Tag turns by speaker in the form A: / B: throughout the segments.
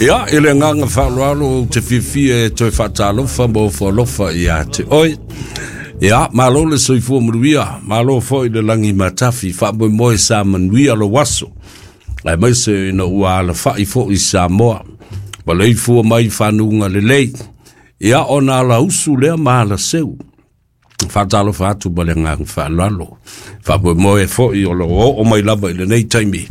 A: Ia, i le agaga faaaloalo ou te fiafia e toe faatalofa ma ofo alofa ia te oe. Ia, malo le soifua manuia, malo foi le lagi matafi, faamoemoe sa manuia lou aso, aemaise ina ua alafai foi Samoa, ma leifua mai i fanuga lelei. Ia, ona alausu lea ma alaseu. Faatalofa atu ma le agaga faaaloalo. Faamoemoe foi o lo o oo mai lava i lenei taimi,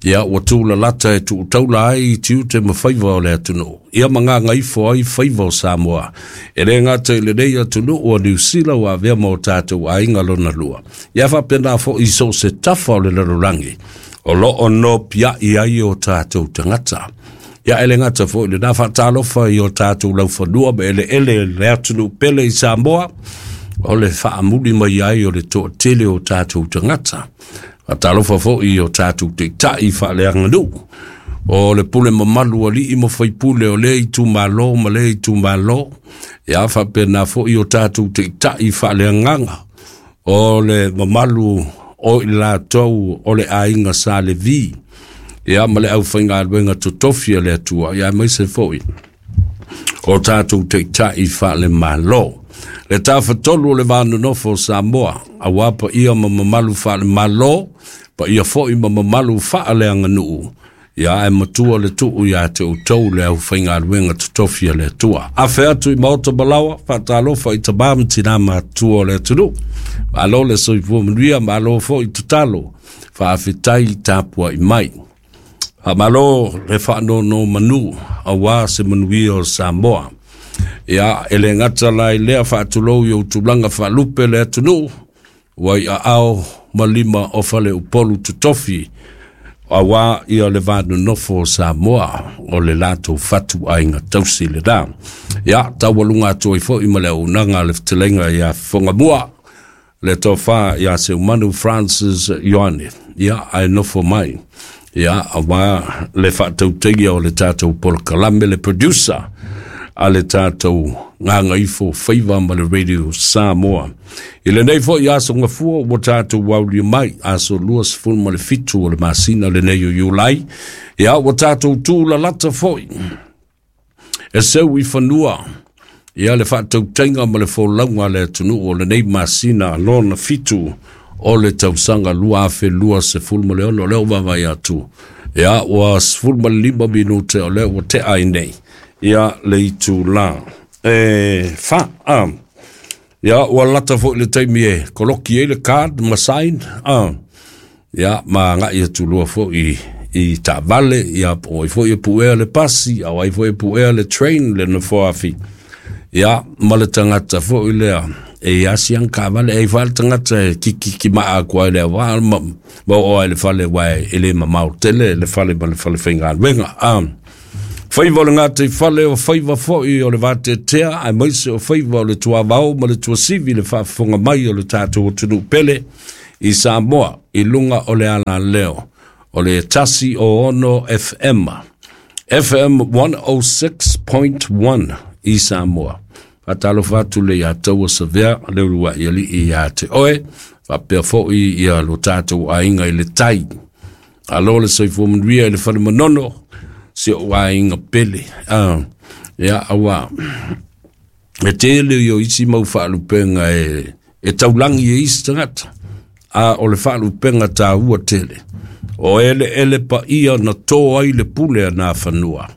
A: ia ua tūlalata e tuutaula ai i tiute ma faiva o le atunuu, ia ma gagaifo ai faiva o Samoa. E le gata i lenei atunuu o Niu Sila ua avea ma o tatou aiga lona lua, ia faapena foi i so o se tafa o le lalolagi o lo o nopiai ai o tatou tagata. Ia e le gata foi lena, faatalofa i o tatou laufanua ma eleele le atunuu pele i Samoa, o le faamuli mai ai o le toatele o tatou tagata. Faatalofa foi i o tatou taitai faaleaganuu, o le pule mamalu alii ma faipule o lea itumalo ma lea itumalo, ia faapena foi o tatou taitai faaleagaga, o le mamalu o i latou o le aiga Sa Levi, ia ma le aufaigaluega totofi a le Atua, ia aemaise foi o tatou taitai faalemalo. Le tafatolu o le va nonofo o Samoa, aua paia ma mamalu faalemalo, paia foi ma mamalu faaleaganuu, ia ae matua le tuu ia te outou le aufaigaluega totofi a le Atua. Afe atu i maota malaoa, faatalofa i tamā ma tinā matutua o le atunuu. Malo le soifua manuia, malo foi tatalo, faafetai tapuai mai. Faamalo le faanonomanu aua se manuia o Samoa. Ia, e le gata la i lea, faatulou i ou tulaga faalupe le atunuu, ua i aao ma lima o Faleupolu totofi, aua ia le va nonofo o Samoa, o le latou fatuaiga tausi lena. Ia, taualuga atu ai foi ma le auaunaga a le fetalaiga ia Fofogamua, le tofa ia Seumanu Francis Ioane, ia, ae nofo mai, ia, aua le faatautaia o le tatou polokalame, le producer a le tatou Gagaifo Faiva ma le Radio Samoa. I lenei foi aso gafua ua tatou aulia mai, aso 27 o le masina lenei o Iulai, ia ua tatou tūlalata foi e seu i fanua ia le faatautaiga ma le folauga a le atunuu o lenei masina lona fitu o le tausaga 2026. O lea ua vaavaai atu, ia ua 15 minute o lea ua tea ai nei ia le itula e fa. Ia, ua lata foi le taimi e koloki ai le card ma sign, ia, ma agai atu loa foi i taavale, ia, po o ai foi e puea le pasi, a o ai foi e puea le train, le nofoafi, ia, ma le tagata foi lea e i asi ana taavale, e i ai le tagata e kikiki maa atu ai le awa, ma oo ai le fale, aua e le mamao tele le fale ma le fale faigaluega. Faiva o le gataifale o faiva foi o le vateatea, aemaise o faiva o le tuavao ma le tuasivi, le faafofoga mai o le tatou atunuu pele i Samoa i luga o le alaleo o le 106 FM, FM 106.1 i Samoa. Faatalofa atu le ia taua Savea, le uluai alii ia te oe, faapea foi ia lo tatou aiga i le tai. Alo le soifua manuia i le fale manono, si ou aiga pele. Ia, aua, e tele i o isi mau faalupenga e taulangi e isi tagata, a o le faalupenga tāua tele, o eleele paia na tō ai le pule a nā fanua,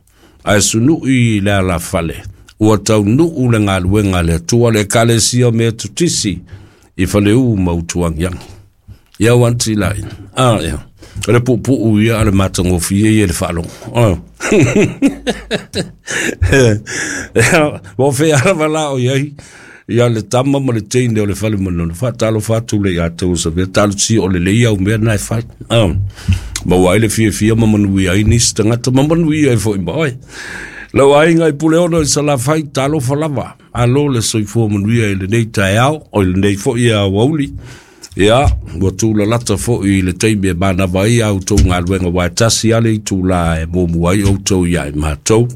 A: ae sunui i le alafale, ua taunuu le galuega a le Atua, le Ekalesia Metotisi i Faleu ma Utuagiagi. Ia wanti lai. Ia. O le puupuu ia a le matagofie ia le faalogo. Ua fea lava la o iai ia le tama ma le teine o le fale manono. Faatalofa atu le ia tau sa vea talosia o le lei au mea na e fai. Maua ai le fiafia ma manuia ai nisi tagata ma manuia ai foi ma oe. Lau aiga i Puleono i Salafai, talofa lava. Alo le soifua manuia i lenei taeao, o i lenei foi aoauli. Ia, ua tūlalata foi i le taimi e manava ai a outou galuega, aua e tasi lava le itulā e muamua ai outou ia i matou.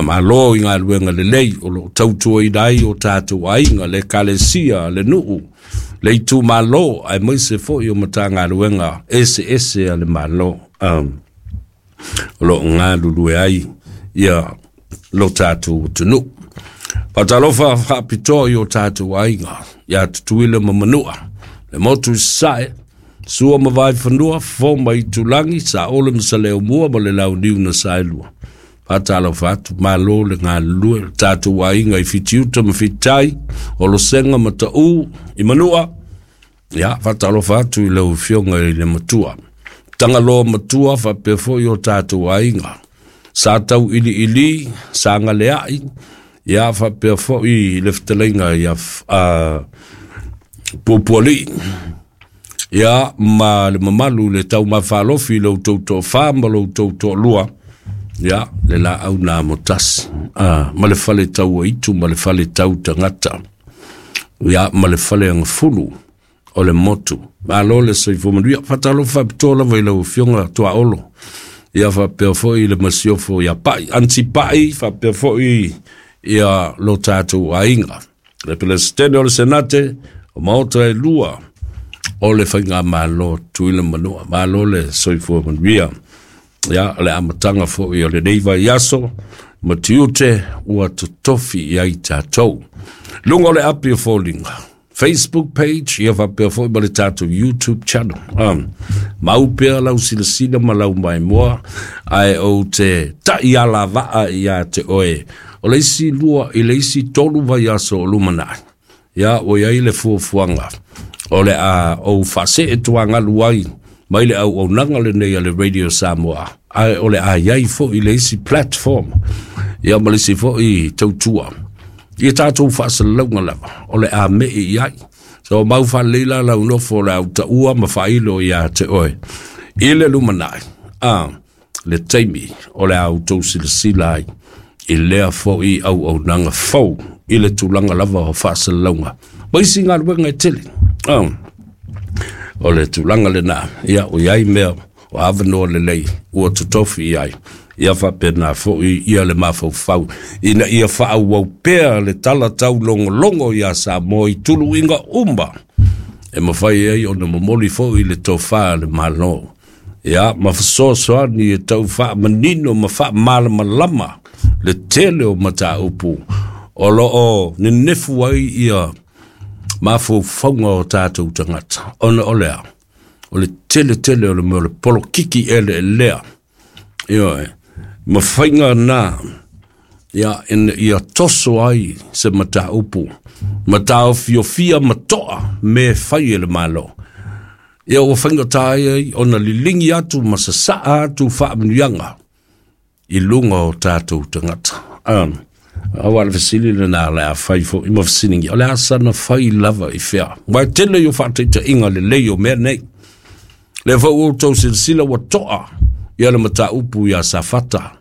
A: Malo i galuega lelei o lo o tautuaina ai o tatou aiga, le ekalesia, le nuu, le itumalo, aemaise foi o Matagaluega eseese a le Malo. o loo galulue ai ia lo tatou atunuu. Faatalofa faapitoa i o tatou aiga ia Tutuila ma Manua, le motu i Sasae, Sua ma Vaifanua, Fofo ma Itulagi, Saole ma Saleaaumua ma le Launiu na Saelua. Faatalofa atu, malo le galulue, le tatou aiga i Fitiuta ma Fititai, Olosega ma Taʻu i Manua. Ia, faatalofa atu i lau Afioga i le Matua, Tagaloa Matua, faapea foi o tatou aiga sa tau iliili, sa galeai, ia faapea foi le fetalaiga ia Puapualii, ia ma le mamalu le taumafalofi i lo outou toafa ma lo outou toalua, ia le laau na amotasi, ma le fale tauaitu ma le fale tau tagata, ia ma le fale agafulu o le motu. Malo le soifua manuia. Faatalofa faapitoa lava i lau Afioga Tuaolo, ia faapea foi le masiofo ia Pai, Anti Pai, faapea foi ia lo tatou aiga, le Peresetene o le Senate, o Maota e lua o le Faigamalo Tutuila Manua. Malo le soifua manuia. Ia, o le amataga foi o lenei vaiaso ma tiute ua totofi i ai tatou. Luga o le api o foliga, Facebook page, ia faapea foi ma le tatou YouTube channel. Mau pea lau silasila ma lau maimoa, ae ou te tai alavaa ia te oe. O le isi 2 i le isi 3 vaiaso o lumanai, ia ua iai le fuafuaga o le a ou faasee tuagalu ai mai le auaunaga lenei a le Radio Samoa, ae o le a iai foi le isi platform, ia ma le isi foi tautua ia tatou faasalalauga lava o le a mei i ai. So mau faalelei la lau nofo o le au taua ma faailo ia te oe i le lumanai, le taimi o le a outou silasila ai i lea foi auaunaga fou i le tulaga lava o faasalalauga ma isi galuega e tele. O le tulaga lena, ia o iai mea o avanoa lelei ua totofi i ai, ia faapena foi ia le mafaufau ina ia faaauau pea le tala taulogologo ia Samoa i tuluiga uma e mafai ai ona momoli foi le tofa a le Malo, ia ma fesoasoani e tau faamanino ma faamalamalama le tele o mataupu o loo nenefu ai ia mafaufauga o tatou tagata, ona o lea o le tele tele o le mea o le polokiki eleelea, ioe, ma faiga na ia ina ia toso ai se mataupu ma taofiofia ma toa me fai e le Malo. Ia ua faigata ai ona lilingi atu ma sasaa atu faamanuiaga i luga o tatou tagata. Aua le fesili lena le a fai foi ma fesiligia, o le a sana fai lava i fea? Ua e tele i o faataitaiga lelei o mea nei. Le foi ua outou silasila ua toa ia le mataupu ia Safata,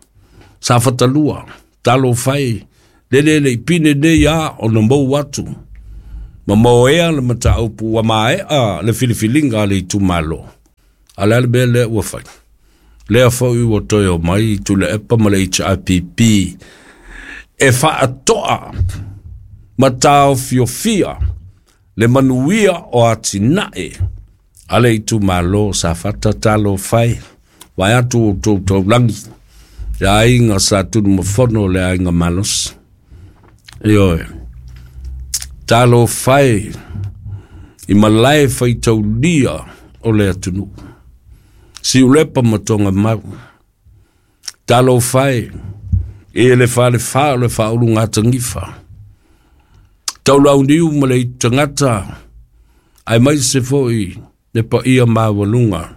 A: Safata 2, talo fai, lele le ipine nei a ona mou atu, ma moea le mataupu ua maea le filifiliga a le itumalo. A le a le mea lea ua fai? Lea foi ua toe o mai Tuilaepa ma le HRPP e faatoa ma taofiofia le manuia o atinae a le itumalo Safata talo fai, vai atu o tou taulagi, le aiga sa Tunumafono le aiga malosi. Ioe, talo fai i malae faitaulia o le atunuu, Siulepa ma Togamau, talo fai i le falefa o le faaulugatanifa, taulauniu ma le tagata, ae mai se foi le paia maualuga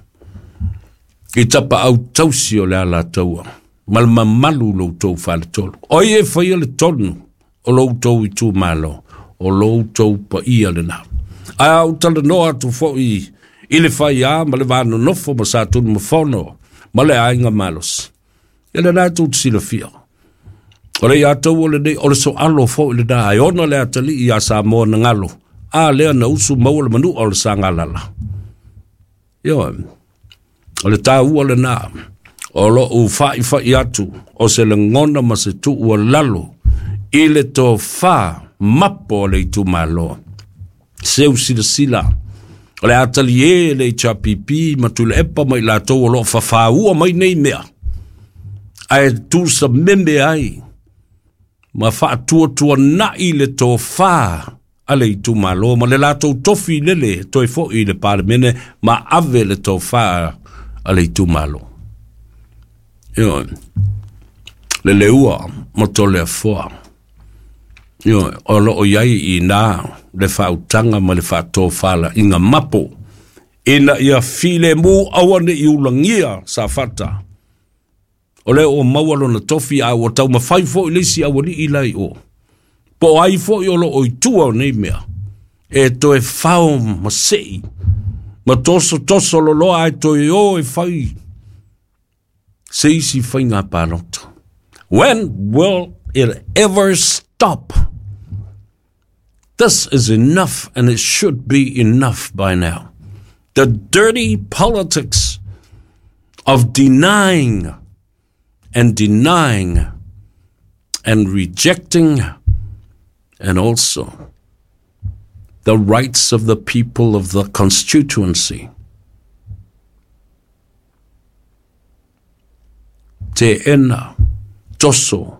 A: i tapaau tausi o le Alataua ma le mamalu lo outou faletolu. O ai e faia le tonu o lo outou itumalo, o lo outou paia lena. Ae a ou talanoa atu foi i le faia ma le vanonofo ma sa Tunumafono ma le aiga malosi, ia lena e tou te silafia. O le ia tou o lenei, o le soalo foi lena, e ona le atalii ia Samoa na galo, a lea na usu maua le manua o le sagalala. Ioe, o le taua lena, o loo faifai atu o se lagona ma se tuu lalo i le tofa mapo o le itumalo. Seu silasila, o le atali e le HRPP ma Tuilaepa ma i latou o loo fafaua mai nei mea. Ae tusameme ai ma faatuatuana'i le tofā a le itumalo ma le latou tofi lele toe fo'i i le Palemene ma ave le tofā a le itumalo. Ioe, le leua ma Toleafoa. Ioe, o loo i ai i ina le faautaga ma le faatofalaiga mapo ina ia filemu aua ne i ulagia Safata. O lea ua maua lona tofi a ua taumafai foi le isi aualii la i o. Po o ai foi o loo i tua o nei mea e toe fao ma sei ma tosotoso loloa ae toe o e fai se isi faiga palota. When will it ever stop? This is enough, and it should be enough by now. The dirty politics of denying and denying and rejecting, and also the rights of the people of the constituency. Teena, toso,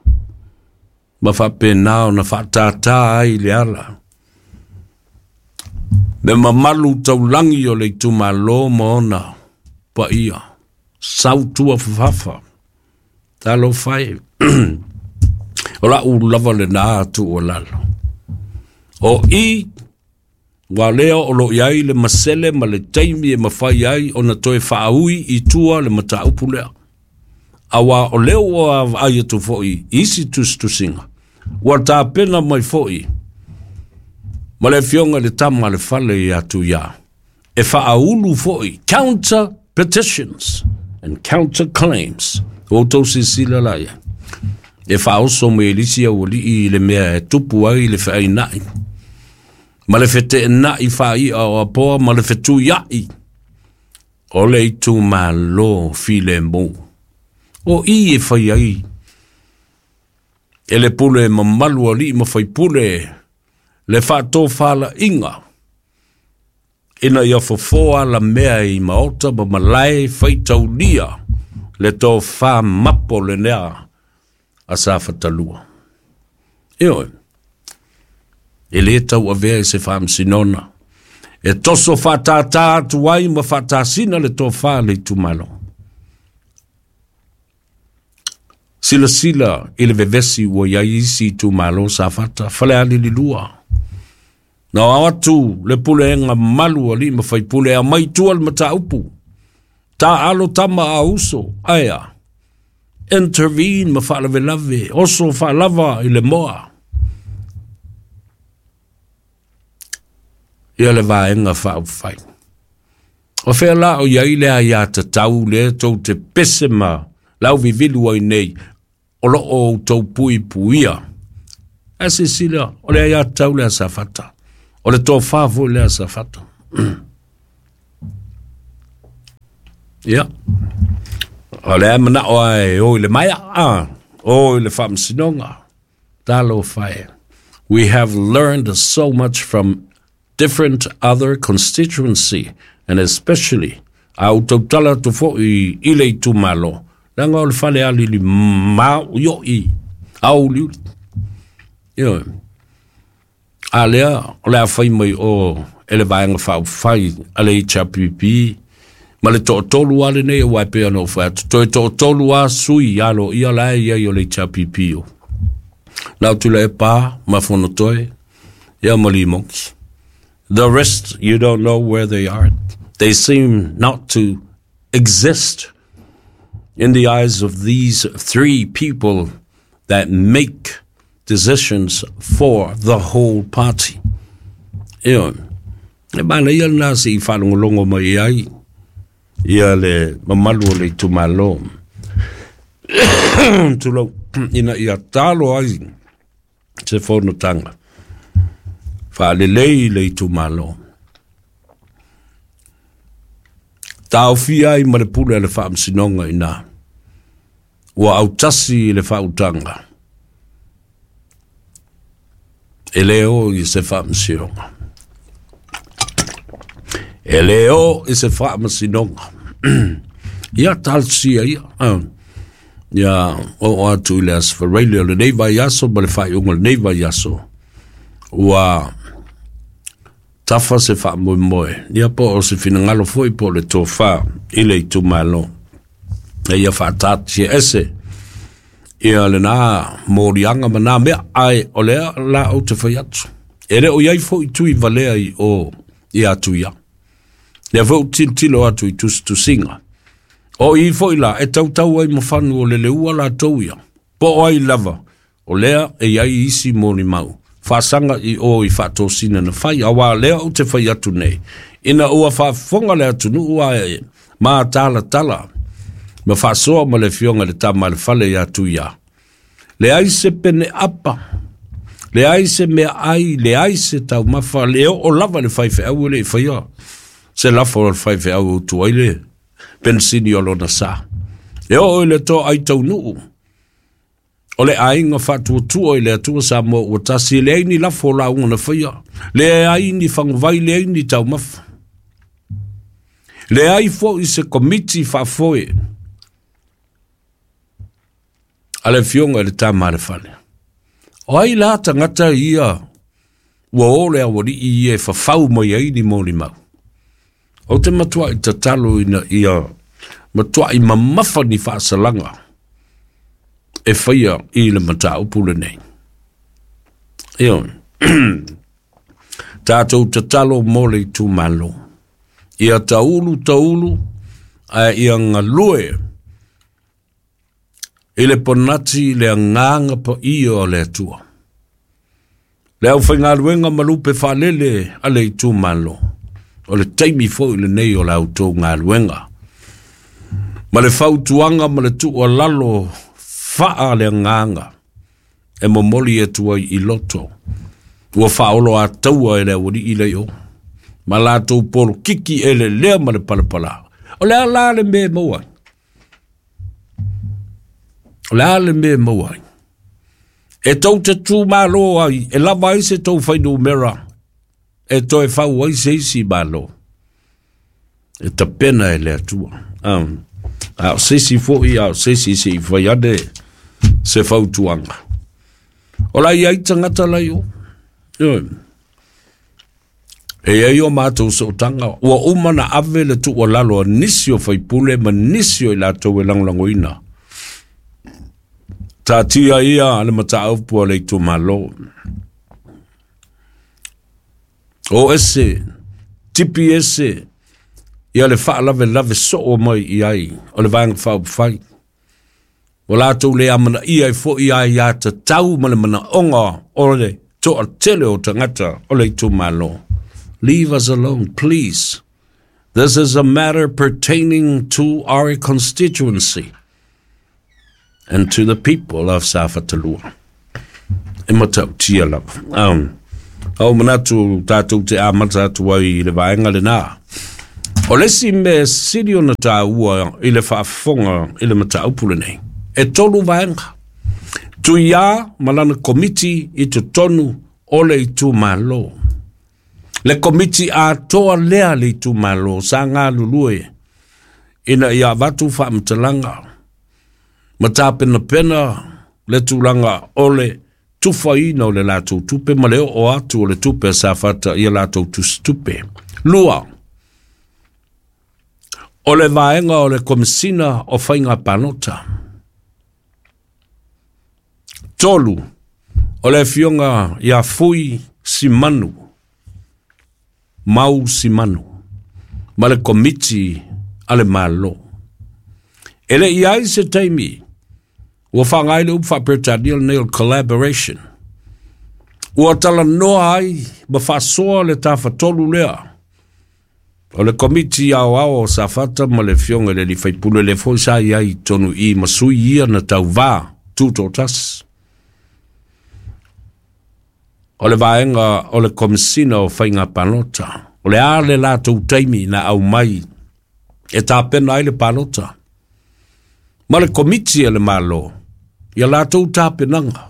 A: ma faapena ona faatātā ai le ala. Le mamalu taulagi o le itumalo ma ona paia, sautua fafafa, talofa e. O lau lava lenā tuualalo. O i, ua lea o lo o i ai le masele ma le taimi e mafai ai ona toe faaui i tua le mataupu lea. Auā o lea ua vaai atu foi i isi tusitusiga, ua tapena mai foi ma le Afioga i le Tama a le Fale ia Tuiā, e faaulu foi counter petitions and counter claims. Ua outou silasila la i ai, e faaoso mai e le isi aualii i le mea e tupu ai le feaina'i ma le feteena'i faai'a o Apoa ma le fetuia'i o le itumalo filemu. O i e fai ai e le pule mamalu alii ma faipule le faatofalaiga ina ia fofo alamea i maota ma malae faitaulia le tofa mapo lenea a Safatalua. Ioe, e lē tauavea i se faamasinoga e toso faatātā atu ai ma faatasina le tofa a le itumalo. Silasila i le vevesi ua i ai isi itumalo Safata, Falealili 2. Na o atu le pulega mamalu a alii ma faipule e aumai i tua le mataupu. Taalo tama a uso, ae a? Intervene ma faalavelave, oso faalava i le moa. Ia le Vaega Faaupufai. O fea la o i ai le aiatatau lea tou te pese ma lauvivilu ai nei o lo o outou puipuia? Ae silasila, o le aiatatau lea a Safata, o le tofa foi lea a Safata. Ia, o lea manao lava e o i le maea, a, o i le faamasinoga. Talofa e. We have learned so much from different other constituency and especially a ou tautala atu foi i le itumalo, leaga o le falealili maoioi auliuli. Ioe. A lea o le a fai mai o e le Vaega Faaupufai a le HRPP ma le toatolu lava lenei, aua e pei ona ou fai atu, toe toatolu lava sui aloaia la e i ai o le HRPP o Lau Tuilaepa ma Fonotoe ia ma Limoki. The rest, you don't know where they are. They seem not to exist in the eyes of these three people that make decisions for the whole party. Ioe, e manaia lena se i faalogologo mai ai ia le mamalu o le itumalo. Tulou, ina ia talo ai se fonotaga faalelei le itumalo. Taofia ai ma le pule a le Faamasinoga ina ua autasi i le faautaga e le o i se faamasinoga. E le o i se faamasinoga. Ia, talosia ia. Ia oo atu i le Aso Faraile o lenei vaiaso ma le faaiuga o lenei vaiaso, ua tafa se faamoemoe, ia po o se finagalo foi po o le tofa i le itumalo, e ia faataatia ese ia lena moliaga ma nā mea, ae o lea la ou te fai atu. E le o iai foi tui valea i o i atu ia. Lea foi ou tilotilo atu i tusitusiga. O i foi la e tautau ai ma fanu o le leua latou ia. Po o ai lava, o lea e iai isi molimau faasaga i o i faatosina na fai, auā lea ou te fai atu nei, ina ua faafofoga le atunuu ae matalatala ma faasoa ma le afioga i le Tama a le Fale ia Tuia. Leai se pene apa, leai se meaai, leai se taumafa, le oo lava i le faifeau e le i faia se lafo a le faifeau e utu ai le penisini o lona sa. E oo i le toai taunuu o le aiga faatuatua i le Atua Samoa ua tasi, e leai ni lafo o lauga na faia, leai ni faguvai, leai ni taumafa. Leai foi se komiti faafoe a le afioga i le Tama a le Fale. O ai la tagata ia ua o le aualii ia e fafau mai ai ni molimau? Ou te matuai tatalo ina ia matuai mamafa ni faasalaga e faia i le mataupu lenei. Ioe. Tatou tatalo mo le itumalo. Ia taulu taulu ae ia galue i le ponati le agaga paia o le Atua. Le aufaigaluega ma lupe faalele a le itumalo, o le taimi foi lenei o la outou galuega. Ma le fautuaga ma le tuualalo faa le agaga e momoli atu ai i loto, ua faaoloataua e le aualii lea i o, ma latou polokiki elelea ma le palapala. O le a la le mea e maua ai? O le a le mea e maua ai? E tou te tumalo ai, e lava ai se tou fuainumera e toe fau ai se isi malo. E tapena e le Atua. A o se isi foi, a o se isi se i fai ane se fautuaga. O la i ai tagata la i o. Ioe. E i ai o matou sootaga, ua uma na ave le tuualalo a nisi o faipule ma nisi o i latou e lagolagoina. Taatia ia le mataupu a le itumalo. O ese, tipi ese, ia le faalavelave soo mai i ai o le Vaega Faaupufai. Ua latou le amanaia ai foi aiatatau ma le manaoga o le toatele o tagata o le itumalo. Leave us alone, please. This is a matter pertaining to our constituency and to the people of Safata 2. E matautia lava. Au manatu tatou te amata atu ai i le vaega lenā. O le isi mea sili ona taua i le faafofoga i le mataupu lenei, e tolu vaega. Tuiā ma lana komiti i totonu o le itumalo. Le komiti atoa lea le itumalo sa galulue ina ia avatu faamatalaga ma tapenapena le tulaga o le tufaina o le latou tupe ma le oo atu o le tupe a Safata i a latou tusitupe. Lua, o le vaega o le Komesina o Faiga Palota. Tolu, o le afioga ia Fui Simanu, Mau Simanu, ma le Komiti a le Malo. E le i ai se taimi ua faaaoga ai le upu faa-Peretania lenei o le collaboration. Ua talanoa ai ma faasoa le tafatolu lea o le Komiti Aoao o Safata ma le afioga i le alii faipule lea foi sa i ai i totonu i i ma sui ia na tauvā tutoatasi. O le vaega o le Komesina o Faiga Palota, o le a le latou taimi na aumai e tapena ai le palota ma le Komiti a le Malo ia latou tapenaga.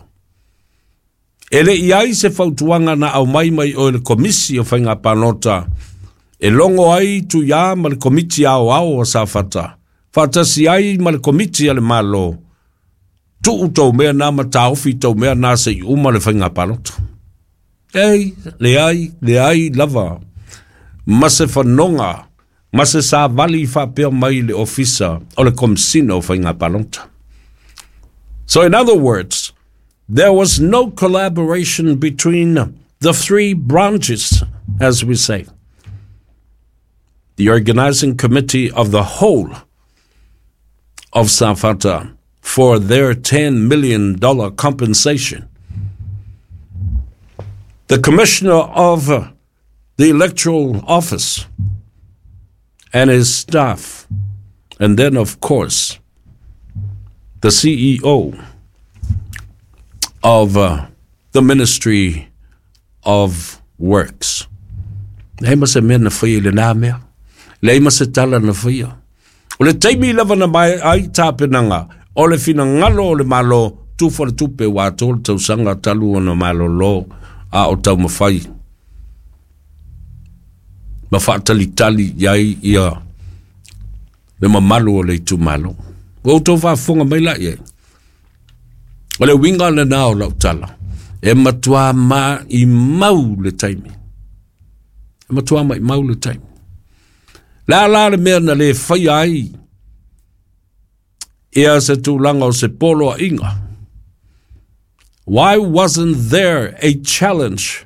A: E le i ai se fautuaga na aumai mai oe le Komisi o Faiga Palota e logo ai Tuiā ma le Komiti Aoao o Safata, faatasi ai ma le Komiti a le Malo. Tuu tou mea na ma taofi tou mea na se'i uma le faiga palota. Ei, leai, leai lava ma se fanoga ma se savali faapea mai le Ofisa o le Komesina o Faiga Palota. So in other words, there was no collaboration between the three branches, as we say. The organizing committee of the whole of Safata for their $10 million compensation. The commissioner of the electoral office and his staff, and then, of course, the CEO of the Ministry of Works. Leai ma se mea na faia i lenā mea. Leai ma se tala na faia. O le taimi lava na mae ai tapenaga, o le finagalo o le Malo, tufa le tupe ua atoa le tausaga talu ona malolo a o taumafai ma faatalitali i ai ia le mamalu o le itumalo. Ua outou faafofoga mai la i ai. O le uiga lenā o lau tala, e matuā maimau le taimi. E matuā maimau le taimi. Le a la le mea na le faia ai ia se tulaga o se poloaiga? Why wasn't there a challenge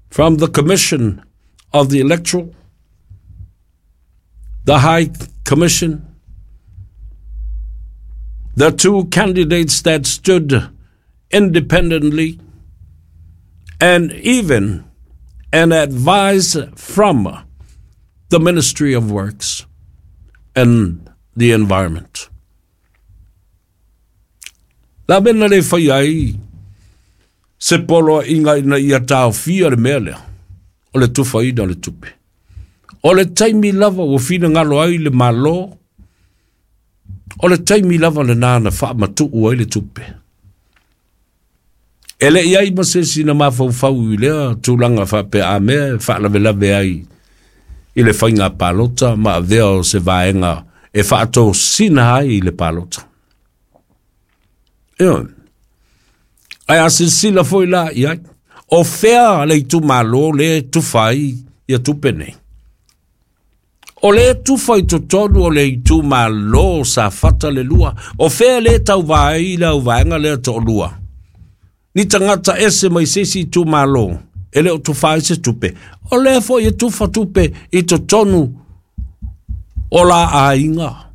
A: from the Commission of the Electoral, the High Commission, the two candidates that stood independently, and even an advice from the Ministry of Works and the Environment? La mea na le faia ai se poloaiga ina ia taofia le mea lea o le tufaina o le tupe. O le taimi lava ua finagalo ai le Malo, o le taimi lava lenā na faamatuu ai le tupe. E le i ai ma se isi na mafaufau i lea tulaga faapea a mea e faalavelave ai i le faiga palota ma avea o se vaega e faatosina ai le palota. Ioe. Ae a silasila foi la i ai, o fea le itumalo lea e tufa ai ia tupe nei? O lea e tufa i totonu o le itumalo o Safata le lua, o fea lea e tauva ai le auvaega lea toalua? Ni tagata ese mai se isi itumalo e le o tufa ai se tupe, o lea foi e tufa tupe i totonu o la aiga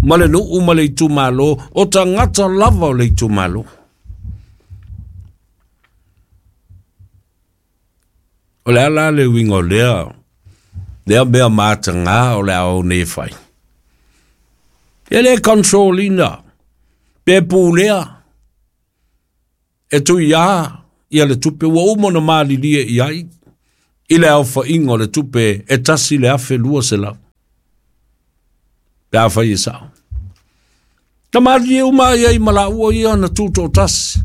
A: ma le nuu ma le itumalo, o tagata lava o le itumalo. O le a la le uiga o lea, lea mea matagā o le a ou nei fai? E le control ina, pe pulea, e tuiā ia le tupe ua uma ona malilie i ai i le aofaiga o le tupe e 1,200. Pe afai e sao. Na malilie uma ai ai ma laua ia na tutoatasi.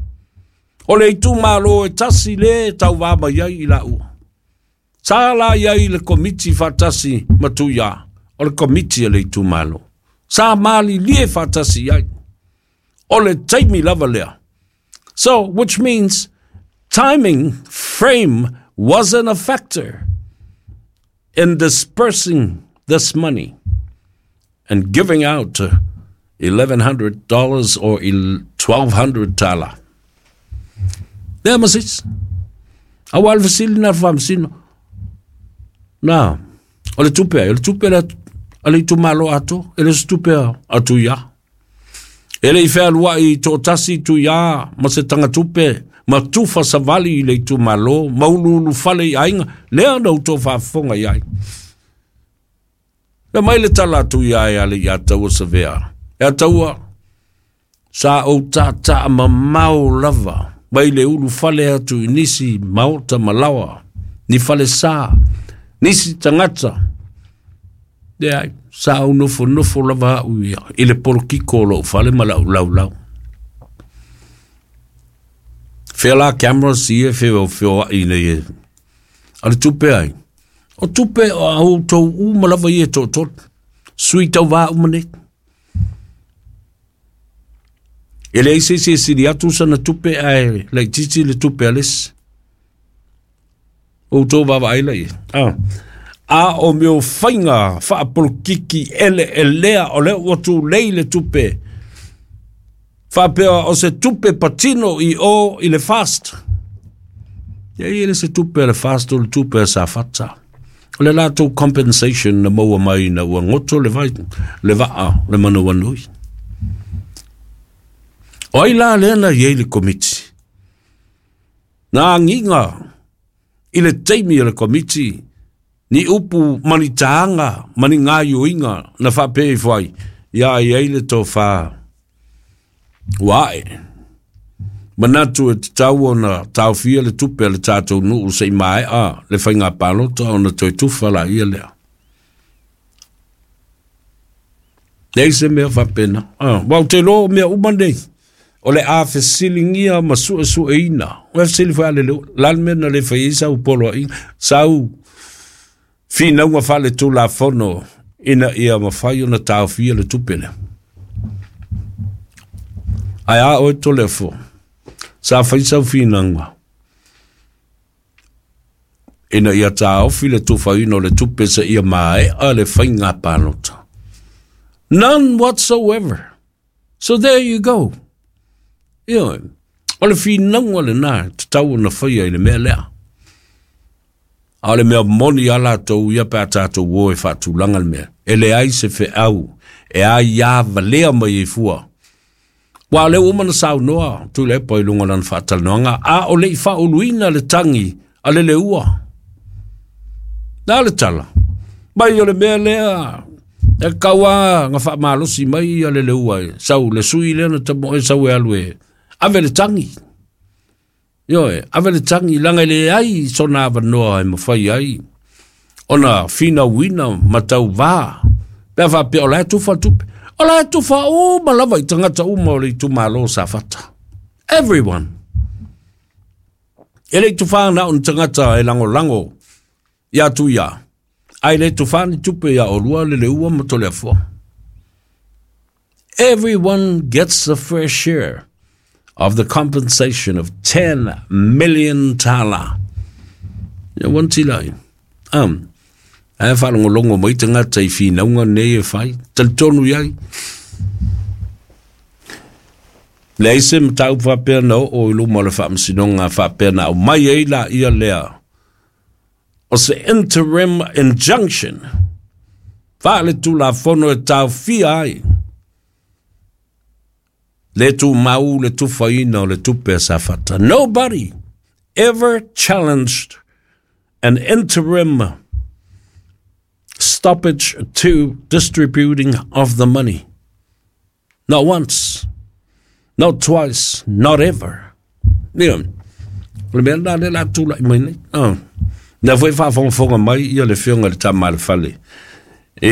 A: O le itumalo e tasi le tauvā mai ai i laua. Sa la i ai le komiti faatasi ma Tuiā, o le komiti a le itumalo. Sa malilie faatasi i ai. O le taimi lava lea. So, which means timing frame wasn't a factor in dispersing this money and giving out $1,100 or 1,200 tala. Lea ma se isi. Aua le fesili na le faamasino. Na, o le tupe ai, o le tupe le a le itumalo atoa, e le o se tupe a Tuiā. E le i fealuai i toatasi Tuiā ma se tagatupe ma tufa savali i le itumalo ma uluulufale i aiga, lea na outou faafofoga i ai. Fai mai le tala a Tuiā e ale ia Taua Savea, E a Taua, sa ou taataa mamao lava mai le ulufale atu i nisi maota ma laoa, ni falesa, nisi tagata. Leai, sa ou nofonofo lava au ia i le polokiko o lou fale ma lau laulau. Fea la cameras ia feofeoai nei e. A le tupe ai. O tupe o a outou uma lava ia e toatolu. Sui tauvā uma nei. E leai se isi e sili atu sana tupe ae laitiiti le tupe a le isi. Ua outou vaavaai la i ai? A o mea o faiga faapolokiki eleelea o lea ua tulei le tupe faapea o se tupe patino i o i le FAST. Ia e le se tupe a le FAST, o le tupe a Safata. O le latou compensation na maua mai ina ua goto le vai, le vaa, le manawanui. O ai la lea na i ai le komiti? Na agiga i le taimi o le komiti ni upu ma ni tāga ma ni gaioiga na faapea ifo ai, ia i ai le tofa ua ae. Manatu e tatau ona taofia le tupe a le tatou nuu se i maea le faiga palota ona toe tufa laia lea. Leai se mea faapena. Aua ou te iloa o mea uma nei, o le a fesiligia ma suesueina. Ua fesili foi a le leo, la le mea na le fai ai sau poloaiga, sau finauga faaletulafono ina ia mafai ona taofia le tupe lea. Ae a oe Toleafoa, sa fai sau finauga ina ia taofi le tufaina o le tupe seia maea le faiga palota. None whatsoever. So there you go. Ioe, o le finauga lena e tatau ona faia i le mea lea. A o le mea moni a latou ia pe a tatou o e faatulaga le mea, e leai se feau e aia valea mai ai fua. Aua o lea ua uma ona saunoa Tuilaepa i luga o lana faatalanoaga, a o le i faauluina le tagi a le Leua. Na le tala mai o le mea lea e tatau lava ona faamalosi mai le Leua e sau le sui lea na tamoe sau e alu e ave le tagi. Ioe, ave le tagi leaga e leai sona avanoa e mafai ai ona finauina ma tauvā pe a faapea o la e tufa le tupe. O la e tufa uma lava i tagata uma o le itumalo o Safata. Everyone. E le i tufa na o ni tagata e lagolago ia Tuia, ae le tufa ni tupe ia olua le Leua ma Toleafoa. Everyone gets a fair share of the compensation of 10 million tala. Ia ua tila ai. Ae faalogologo mai tagata i finauga nei e fai, talitonu i ai. Leai se mataupu faapea na oo i luma o le faamasinoga faapea na aumai ai laia lea o se interim injunction faaletulafono e taofia ai le tumau le tufaina o le tupe a Safata. Nobody ever challenged an interim stoppage to distributing of the money. Not once, not twice, not ever. Ia, o le mea lena lea o le a tulai mai nei. Lea foi e faafogafoga mai le Afioga i le Tama a le Fale i